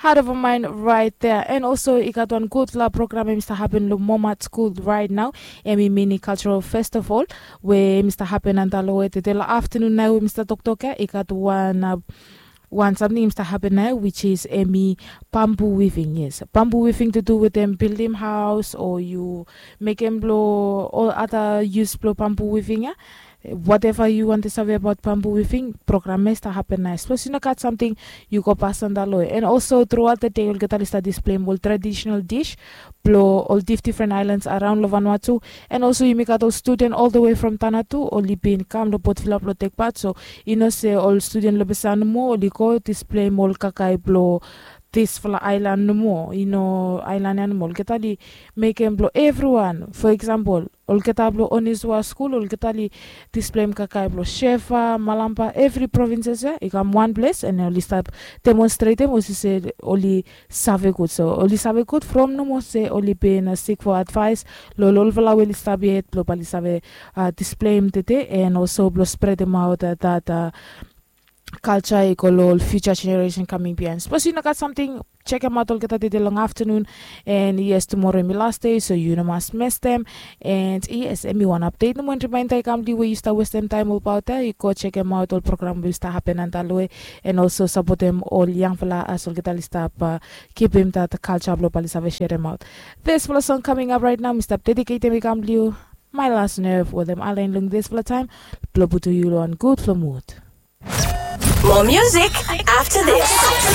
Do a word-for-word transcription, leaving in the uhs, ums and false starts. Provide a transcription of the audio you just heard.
Heart of a mind right there. And also i gat wan gudfala program em i stap hapen long Momat School right now. Em i mini cultural festival we em i stap hapen antap long we tede long aftanun nao we mi stap toktok ya i gat wan uh, wan samting i stap hapen nao, which is em i bamboo weaving. Yes, bamboo weaving to do with them building house or you mekem blong ol other use blong bamboo weaving ya. Whatever you want to save about bamboo weaving program ya i stap hapen nao. Sapos yu no gat samting, yu go pas antap long we. And also throughout the day olgeta oli stap display ol traditional dish blong ol dif different islands around long Vanuatu. And also yumi gat ol student all the way from Tanatu oli bin kam long Port Vila blong tek pat. So i no se ol student long Besau nomo oli go display ol kakae blong disfala aelan nomo, i no aelan ya nomo. Olgeta oli mekem blong evriwan. For example, olgeta blong Onisua skul olgeta oli display kakae blong Shefa, Malampa, evri provinces ya i kam wan ples and oli stap demonstretem olsem se oli save gud. So oli save gud from nomo se oli bin uh, seek for advice long olfala we oli stap yet blong bae oli save uh, display tede and also blong spread out uh, that uh, culture i go long ol future generation coming behind. Sapos yu no gat samting, check em out olgeta tede long afternoon. And yes, tomorrow em i last day, so yu no mas mes them. And yes, em i wan update nomo and reminder i kam long yu we yu stap westem taem olbaot ya, yu go check em out ol program we yu stap hapen antap long we. And also sapotem ol yangfala as olgeta oli stap uh, kipim that culture blong bae oli save sherem out. Disfala song coming up right now mi stap dediketem i kam long yu. My last nerve wetem Alain long disfala taem blong putum yu long wan gudfala mood. More music after this.